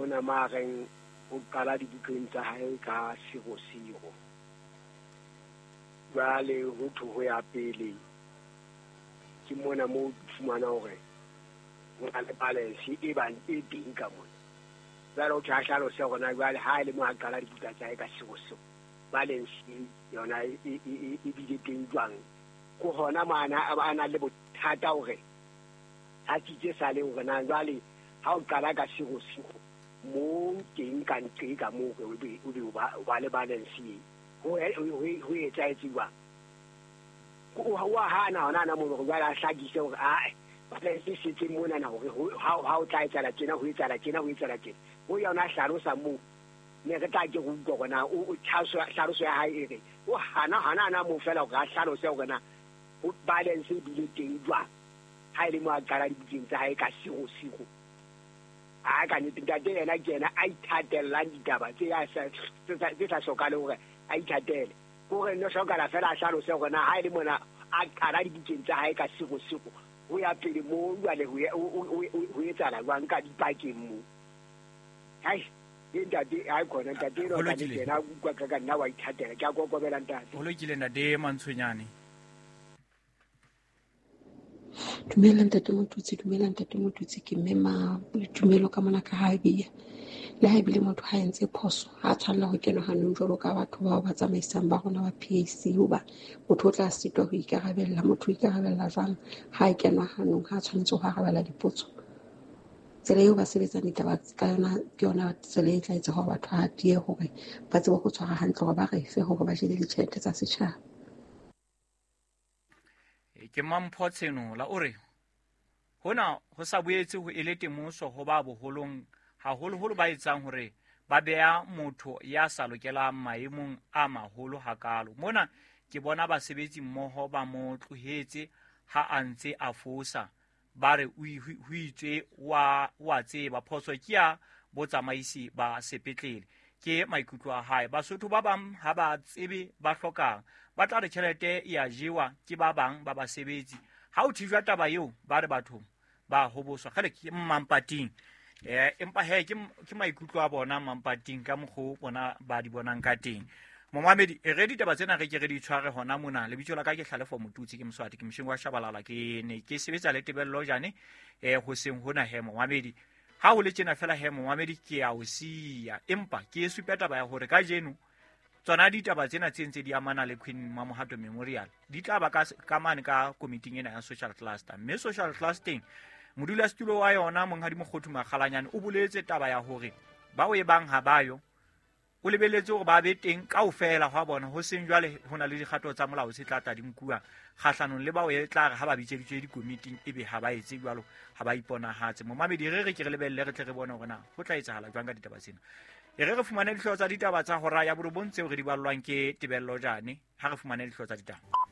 Mona ma reng o qala dibukeng tsa hae ka 00. Jwale ho thwe ho ya pele ke mona mo fumana hore ho na le balance e bang e teng ka mona. Jwale o thwe a hlalose hore na jwale ha e le mo a qala dibuka tsa hae ka 00, balance yona e bile teng jwang. Ke hona mo a na le bothata hore a tsitse sale hore na jwale ha o qala ka 00 mo teng ka nqe ka moo o be o ba le balance e ho etsahetse jwang. O a hana hona ana moo hore jwale a hlakise hore ae balance e setse monana hore ha o tla etsahala tjena ho etsahala tjena ho etsahala tjena. Ho yona a hlalosa moo ne re tla ke re utlwa hore na o hlaloso ya hae e re o hana hana ana moo fela hore a hlalose hore na ho balance e bile teng jwang ha e le mo a qala dibukeng tsa hae ka 00. A ka nnete ntate yena ke yena a ithatellang ditaba tse sa hlokahale hore a ithatele. Ke hore no hlokahala fela a hlalose hore na ha e le mona a qala dibukeng tsa hae ka 00 ho ya pele moo jwale ho etsahala jwang ka dipakeng moo. Hai, ke ntate ha khona ntate eno ka nnete yena a utlwa ka nna wa ithatela. Ke a kokobela ntate. Ho lokile ntate Mantshonyane. Dumela ntate Motutsi, dumela ntate Motutsi, ke mme ma boitumelo ka mona ka ha bia. Le ha ebile motho ha entse phoso, ha tshwanela ho kenwa hanong jwalo ka batho bao ba tsamaisang ba rona ba PAC, hoba motho o tla sitwa ho ikarabella. Motho o ikarabella jwang ha a kenwa hanong, ha tshwanetse ho arabela dipotso. Tsela eo ba sebetsang ditaba ka yona ke yona tsela e tla etsa hore batho ba tiye hore ba tsebe ho tshwara hantle, hore ba re fe hore ba jele ditjhelete tsa setjhaba. Ke Mampho Tshenola o re hona ho sa boetse ho ele temoso ho ba boholong, haholoholo ba etsang hore ba beha motho ya sa lokelang maemong a maholo hakalo. Mona ke bona basebetsi mmoho ba mo tlohetse ha a ntse a fosa, ba re o itswe wa tseba phoso ke ya botsamaisi ba sepetlele. Ke maikutlo a hae. Basotho ba bang ha ba tsebe ba hlokang, ba tla re tjhelete e a jewa ke ba bang ba basebetsi. Ha o thijwa taba eo ba re batho ba hoboswa. Kgele ke Mmampating. Empa he ke maikutlo a bona Mmampating ka mokgo bona ba di bonang ka teng. Momamedi, e re ditaba tsena re ke re di tshware hona mona. Lebitso la ka ke Hlalefo Motutsi, ke Moswati, ke mosheng wa Shabalala, ke ne ke sebetsa le Tebello Jane, hoseng hona he momamedi. Ha ho le tjena fela he momamedi ke a o siya, empa ke e supe taba ya hore kajeno tsona ditaba tsena tse ntse di amana le Queen Mamohato Memorial di tla ba ka mane ka komiting ena ya social cluster. Mme social clustering modulasetulo wa yona Monghadi Mokgothu Makgalanyane o boletse taba ya hore bao e bang ha ba yo, o lebeletse hore ba be teng kaofela hwa bona, ho seng jwale ho na le dikgato tsa molao tse tla tla di nkuwa kgahlanong le bao e tla re ha ba bitseditswe dikomiting ebe ha ba etse jwalo, ha ba iponahatse. Momamedi, re re ke re lebelle re tle re bone hore na ho tla etsahala jwang ka ditaba tsena. E re re fumane dihlooho tsa ditaba tsa hora ya borobong tseo re di ballwang ke Tebello Jane. Ha re fumane dihlooho tsa ditaba.